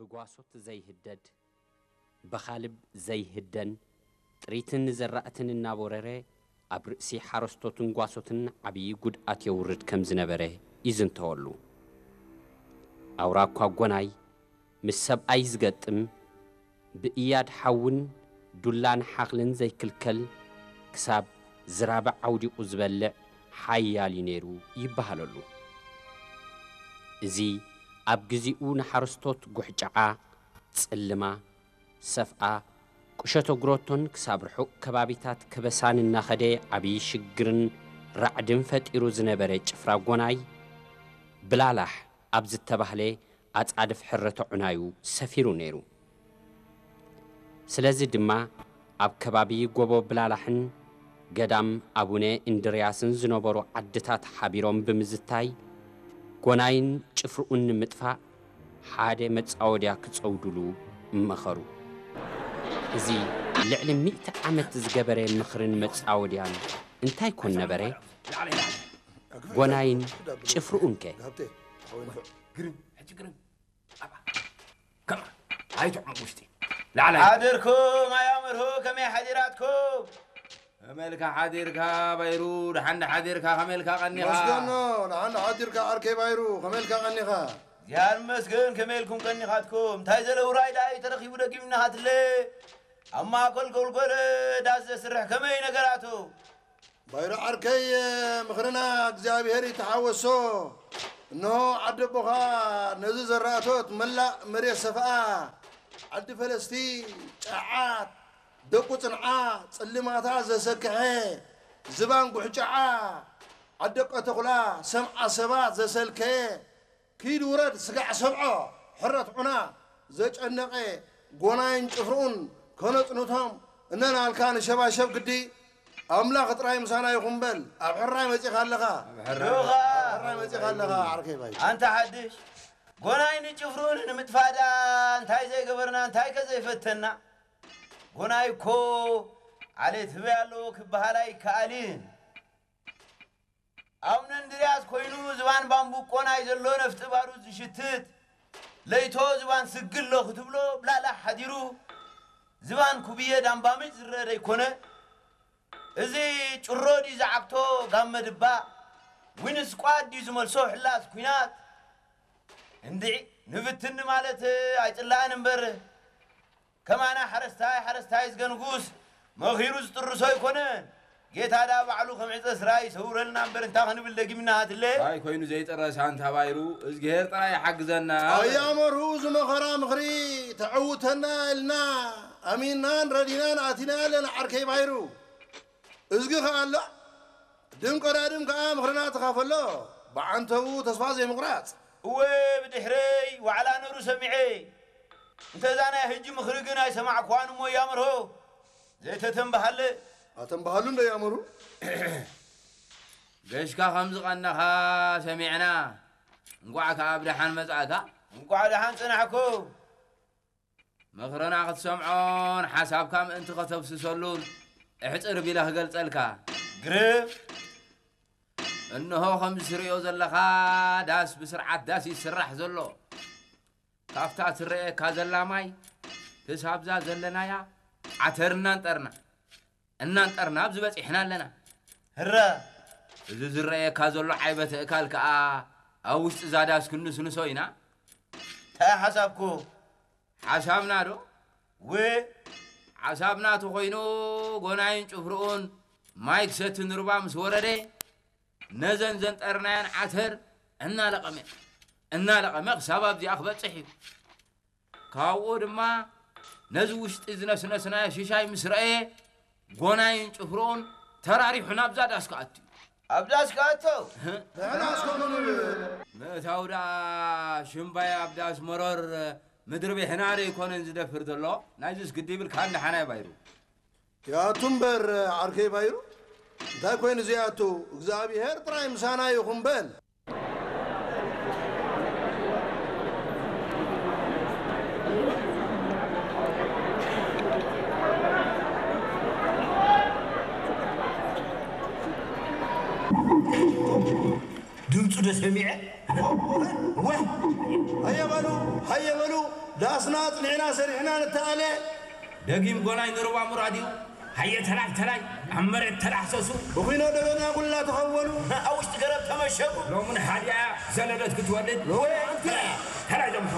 ብጓሶት ዘይህደድ፣ ብኻልብ ዘይህደን፣ ጥሪትን ዘራእትን እናቦረረ ኣብ ርእሲ ሓረስቶትን ጓሶትን ዓብዪ ጉድኣት የውርድ ከም ዝነበረ ይዝንተወሉ። ኣውራ እኳ ጎናይ ምስ ሰብኣይ ዝገጥም፣ ብእያድ ሓውን ዱላን ሓኽልን ዘይክልከል፣ ክሳብ ዝራብዕ ኣውዲቑ ዝበልዕ ሓያል እዩ ነይሩ ይበሃለሉ። እዚ ኣብ ግዚኡ ንሓረስቶት ጉሕጫዓ፣ ጽልማ፣ ሰፍኣ፣ ቁሸተ ጉሮቶን ክሳብ ርሑቕ ከባቢታት ከበሳን እናኸደ ዓብዪ ሽግርን ራዕድን ፈጢሩ ዝነበረ ጭፍራ ጎናይ፣ ብላላሕ ኣብ ዝተባህለ ኣጻድፍ ሕረተ ዑናዩ ሰፊሩ ነይሩ። ስለዚ ድማ ኣብ ከባቢ ጎቦ ብላላሕን ገዳም ኣቡነ እንድርያስን ዝነበሩ ዓድታት ሓቢሮም ብምዝታይ፣ ጎናይን ጭፍርኡን ንምጥፋእ ሓደ መጻወድያ ክጸውዱሉ መኸሩ። እዚ ልዕሊ ሚእቲ ዓመት ዝገበረ ምኽርን መጻወድያን እንታይ ኮን ነበረ? ጎናይን ጭፍርኡንከ? ግርም፣ ሕጂ ግርም። ኣባ፣ ከማ፣ ኣይትዕመቕ ውሽጢ። ላዕላይ። ሓደርኩም ኣያመርሁ፣ ከመይ ሓዲራትኩም? ከመይ ኢልካ ሓዲርካ ባይሩ? ደሓን ዶ ሓዲርካ? ከመይ ኢልካ ቀኒኻ? መስገኖ፣ ደሓን ዶ ሓዲርካ ዓርከይ ባይሩ? ከመይ ኢልካ ቀኒኻ? እግዚኣብሔር ይመስገን፣ ከመይ ኢልኩም ቀኒኻትኩም? እንታይ ዘለ ውራይ ደኣ እዩ ተረኺቡ ደጊምና ሃትለ? ኣብ ማእከል ጎልጎለ ዳስ ዘስርሕ ከመይ ነገራቱ? ባይሩ ዓርከይ፣ ምኽርና እግዚኣብሔር ይተሓወሶ። እንሆ ዓዲ ኣቦኻ ነዚ ዘራእቶት መላእ መሬት ሰፍኣ፣ ዓዲ ፈለስቲ፣ ጨዓት፣ ደቁ ጽንዓ፣ ጽልማታ ዘሰክሐ፣ ዝባን ጉሕጫዓ፣ ዓዲ ቀተኹላ፣ ሰምዓ ሰባት ዘሰልከየ፣ ኪድ ውረድ ስጋዕ ሰብዖ፣ ሕረት ዑና፣ ዘጨነቐ ጎናይን ጭፍርኡን ከነጽንቶም እነናልካ ንሸባሸብ ግዲ። ኣምላኽ ጥራይ ምሳና ይኹን በል። ኣብ ሕራይ መጺኻ ኣለኻ። ዶኻ ሕራይ መጺኻ ኣለኻ ዓርከይ ባይ። ኣንታ ሓድሽ ጎናይ ንጭፍርኡን ንምጥፋእ ደኣ እንታይ ዘይገበርና እንታይ ከ ዘይፈተና። ጎናይ እኮ ዓሌት ህበይ ኣለዎ ክበሃል ኣይከኣልን። ኣቡነ እንድርያስ ኮይኑ ዝባን ባምቡቆ ናይ ዘሎ ነፍጢ ባሩድ ዝሽትት፣ ለይቶ ዝባን ስግሎ ክትብሎ ብላላ ሓዲሩ ዝባን ኩብየ ዳምባምጭ ዝረአ ደይኮነ። እዚ ጭሮ ድዩ ዝዓግቶ ጋመ ድባ፣ ዊን ስኳድ ድዩ ዝመልሶ ሕላስ ኲናት። እንድዒ ንፍትኒ ማለት ኣይጽላእን እምበር፣ ከማና ሓረስታይ ሓረስታይ ዝገንጉስ መኺሩ ዝጥርሶ ኣይኮነን። ጌታ ደኣ ባዕሉ ከም ዕጸ ስራ ይሰውረልና እምበር እንታይ ክንብል ደጊምና ሃትለ። እንታይ ኮይኑ ዘይጥረስ ኣንታ ባይሩ፣ እዝግሄር ጥራይ ይሓግዘና። ኣያ መርሁ እዚ መኸራ ምኽሪ ተዕውተና ኢልና ኣሚንናን ረዲናን ኣቲና ኣለና ዓርከይ ባይሩ። እዝጊ ከኣ ኣሎ ድም ቀዳድም ከኣ ምኽርና ተኻፈሎ ብዓንተቡ ተስፋ ዘይምቑራጽ። እወ ብድሕረይ ዋዕላ ነሩ ሰሚዐ። እንተ እዛ ናይ ህጂ ምኽሪ ግን ኣይሰማዕኩዋን እሞ እያ መርሆ ዘይተተንበሃለ። ኣተንበሃሉ እንዶ እያ መርሁ። ገሽካ ከም ዝቐነኻ ሰሚዕና። እንቋዕ ከኣ ብደሓን መጻእካ። እንቋዕ ደሓን ጸናሕኩም። ምኽርና ክትሰምዖን ሓሳብካ ምእንቲ ከተፍስሰሉን እሕጽር ቢለ ክገልጸልካ። ግርም። እንሆ ከምዚ ትርእዮ ዘለኻ ዳስ ብስርዓት ዳስ ይስራሕ ዘሎ። ካብታ ትረኣየካ ዘላ ማይ ክሳብዛ ዘለናያ ዓተር እናንጠርና እናንጠርና ኣብዚ በጺሕና ኣለና። ህረ! እዚ ዝረኣየካ ዘሎ ዓይበ ትእካል ከኣ ኣብ ውሽጢ እዛ ዳስ ክንስንሶ ኢና። እንታይ ሓሳብኩ? ሓሳብና ዶ? ው! ሓሳብና ተኾይኑ ጎናይን ጭፍርኡን ማይ ክሰቲ ንሩባ ምስ ወረደ ነዘን ዘንጠርናየን ዓተር እናለቐመ እናለቐመ ክሳብ ኣብዚኣ ክበጽሕ እዩ። ካብኡ ድማ ነዚ ውሽጢ ዝነስነስናዮ ሽሻይ ምስ ረኣየ ጎናይን ጭፍርኡን ተራሪሑ ናብዛ ዳስ ክኣቱ እዩ። ኣብ ዳስ ክኣቶ? ንሕናስ ከምኡ ንብል። ምእታው ደኣ ሽምባይ ኣብ ዳስ መሮር ምድሪ ቤሕና ዶ ኣይኮነን ዝደፍር ዘሎ? ናይዝስ ግዲ ይብልካን ደሓናይ ባይሩ። ይኣቱ እምበር ዓርከይ ባይሩ፣ እንታይ ኮይኑ ዘይኣቱ? እግዚኣብሄር ጥራይ ምሳና ይኹን በል። ድምፁ ዶ ሰሚዐ? ወይ ኣየ በሉ። ሃየ በሉ ዳስና ኣጽኒዕና ሰሪሕና ንተኣለ። ደጊም ጎናይ ንሩባ ሙራድ እዩ። ሃየ ተላይ ተላይ ኣብ መሬት ተላሕሰሱ። ብኹኖ ደበና ኩላ ተኸወሉ። ኣብ ውሽጢ ገረብ ተመሸጉ። ሎምን ሓዲኣ ዘለደት ክትወልድ። ወይ ኣንቲ። ተላይ ዶምሖ።